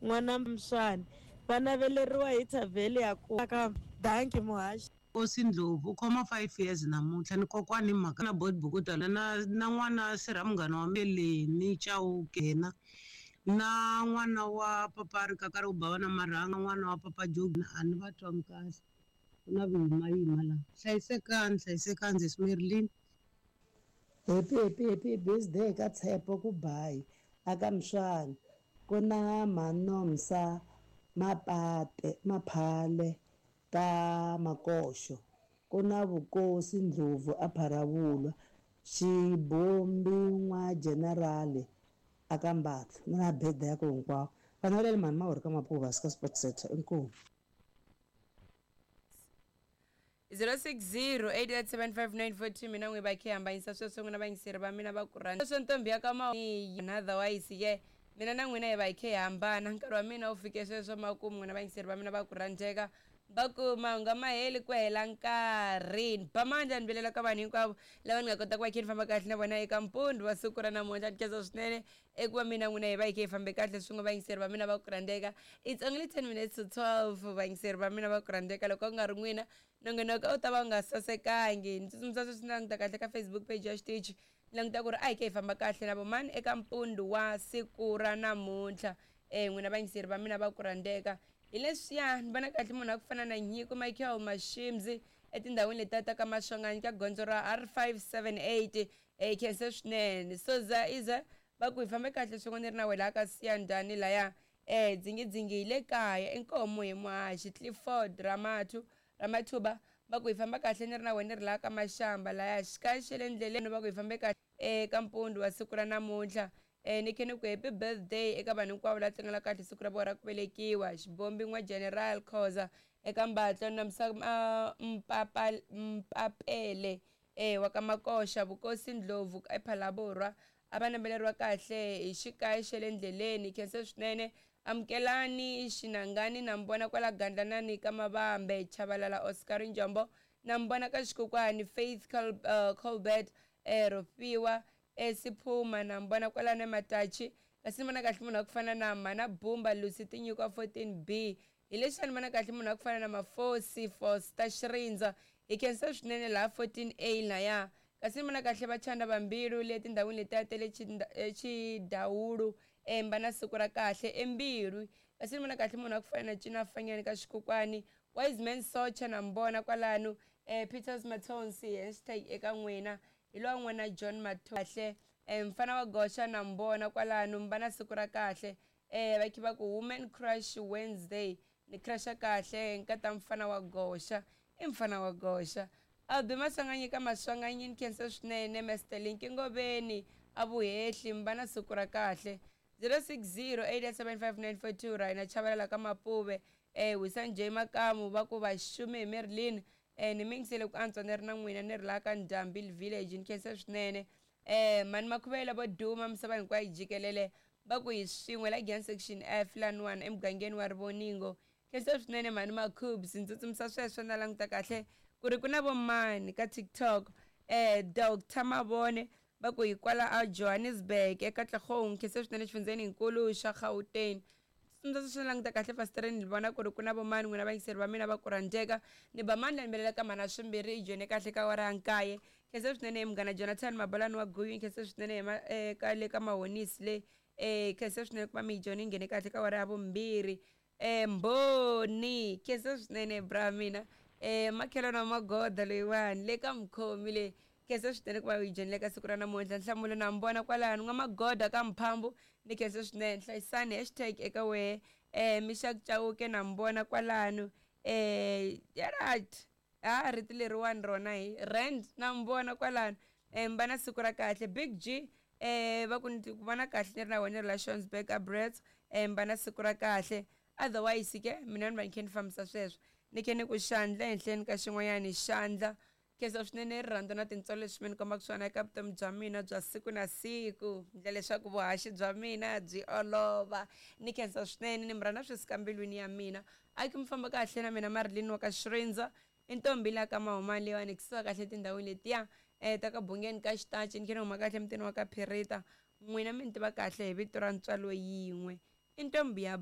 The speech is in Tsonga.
N'wana Mswani va naveleriwa hi thavheli ya ku ka danki muhaxi. Nkosi Ndlovu u khoma 5 years namuntlha ni kokwani hi mhaka na Bot Bukuta na na n'wana sirha munghana wa Meleni Chauke yena na n'wana wa papa Rikakara ku bava na marhanga n'wana wa papa Jogi a ni va twangi kahle ku na vuyimayima la hlayisekani hlayisekani sesi Marilyn. Happy happy happy birthday ka Tshepo ku bayi aka Mswani ku na Manomsa Mapate Maphale ka Makoxo ku na Vukosi Ndlovu a Pharavulwa Xibombi n'wa General aka Mbatla na birthday ya ku hinkwavo vana va le mhani Mawuri ka Mapuva ka Sport Center inkomu. 0608875942 mina n'wi va khe hambanyisa sweswo n'wina vayingiseri va mina va ku rhandza sweswo ntombi ya ka ma otherwise ke mina na n'wina hi va hi khe hi hambana nkarhi wa mina wu fike sweswo makumu n'wina vayingiseri va mina va ku rhandzeka va ku mahungu a ma heli ku hela nkarhi ni ba mandla ni vilela ka vanhu hinkwavo lava ni nga kota ku va khe ni famba kahle na vona eka mpundzu wa siku ra namuntlha ni khensa swinene eku va mina n'wina hi va hi khe hi fambe kahle swin'we vayingiseri va mina va ku rhandzeka. It's only 10 minutes to 12 vayingiseri va mina va ku rhandzeka. Loko ku nga ri n'wina nongonoko a wu ta va wu nga sasekangi. Ni tsutsumisa sweswi ni languta kahle ka Facebook page ya xitichi ni languta ku ri a hi khe hi famba kahle na vo mani eka mpundzu wa siku ra namuntlha. N'wina vayingiseri va mina va ku rhandzeka. Hi leswiya ni vona kahle munhu a ku fana na Nyiko Michael Mashimzi etindhawini letiya ta ka Maswanganyi ka gondzo ra R578. Hi khense swinene. Soza Iza va ku hi fambe kahle swin'we ni ri na wena ka Siyandhani laya eh dzingidzingi hi le kaya inkomu hi muhaxi Clifford Ramathu Ramathuba va ku hi famba kahle ni ri na wena ni ri laha ka Mashamba laya xikaya xa le ndleleni va ku hi fambe kahle eka mpundzu wa siku ra namuntlha eh ni khe ni ku happy birthday eka vanhu hinkwavo la tlangela kahle siku ra vona ra ku velekiwa Xibombi n'wa General Khoza eka Mbatlo Nomsa Mpapa Mpapele E wa ka Makoxa, Vukosi Ndlovu ePhalaborwa a va nambeleriwa kahle hi xikayi xa le ndleleni. Khensa swinene Amukelani Xinangani na Mbona kwala Gandlanani ka Mavambe, Chavalala Oscar Njombo na Mbona ka Xikokwani, Faith Colbert Rofhiwa Siphuma na Mbona kwalano eMatachi. Kasi ni vona kahle munhu wa ku fana na Mhana Bumba Lucy Tinyikwa 14B. Hi lexi a ni vona kahle munhu wa ku fana na Mafosi Foster Xirindza. Hi khensa swinene laha 14A laya. Kasi ni vona kahle Vachanda va Mbilu le tindhawini letiya ta le Chidawulu Emba na siku ra kahle eMbilu. Kasi ni vona kahle munhu wa ku fana na Cina Fanyani ka Xikokwani, Wiseman Socha na Mbona kwalano Peters Mathonsi hashtag eka n'wina. Hi lowa n'wana John Mathonsi. Kahle mfana wa Goxa na Mbona kwalano mba na siku ra kahle. Va khe va ku Woman Crush Wednesday. Ni crusha kahle nkata mfana wa Goxa. I mfana wa Goxa. Albi Maswanganyi ka Maswanganyi ni khensa swinene Mister Linki Ngoveni a Vuhehli mba na siku ra kahle. 0608875942 Rhina Chavalala ka Mapuve Wisani J Makamu va ku vaxumi hi Marilyn ni mi yingisele ku antswa ni ri na n'wina ni ri laha ka Ndhambi Village ni khensa swinene. Mhani Makhuvela vo duma misava hinkwayo jikelele va ku hi swin'we la Giyani Section F laniwani emugangeni wa Rivoningo. Khensa swinene mhani Makhubs ni tsutsumisa sweswo na languta kahle ku ri ku na vo mani ka TikTok. Doctor Mavone va ku hi kwala a Johannesburg eKatlehong. Khensa swinene xifundzheni hinkulu xa Gauteng. Tsutsumisa sweswo na languta kahle fasitereni ni vona ku ri ku na vo mani n'wina vayingiseri va mina va ku rhandzeka. Ni ba mandla ni vilela ka mhana swimbirhi i joyine kahle ka awara ya nkaye. Khensa swinene he munghana Jonathan Mabalani wa Guyu, khensa swinene he ma ka le ka Mahonisi le. Khensa swinene ku va mi yi joyine yi nghene kahle ka awara ya vumbirhi. Mbhoni, khensa swinene bra mina. Makhelwani wa Magoda loyiwani le ka Mukhomi le. Khensa swinene ku va u yi joyinile ka siku ra namuntlha. Nhlamulo na mi vona kwalano N'wamagoda ka Mphambu ni khensa swinene. Hlayisani hashtag eka wehe. Mixak Chauke na mi vona kwalano. Right. Ha rito leriwani rona hi rand na mi vona kwalano. Mi va na siku ra kahle. Big G va ku ni ku vona kahle ni ri na wena ni ri la Shonsburg a Brits. Mi va na siku ra kahle. Otherwise ke mina ni va ni khe ni fambisa sweswo. Ni khe ni ku xandla ehenhleni ka xin'wanyani xandla. Khensa swinene rirhandzu na tintswalo leswi mi ni kombaka swona eka vutomi bya mina bya siku na siku. Ndla leswaku vuhaxi bya mina byi olova. Ni khensa swinene, ni mi rhandza swi suka mbilwini ya mina. A ki mi famba kahle na mina Marilyn wa ka Xirindza, i ntombi la ka Mahumani leyiwani hi kusuka kahle etindhawini letiya ta ka Bungeni ka Xitachi, ni khe ni huma kahle emutini wa ka Phirita. N'wina mi ni tiva kahle hi vito ra ntswalo yin'we. I ntombi ya.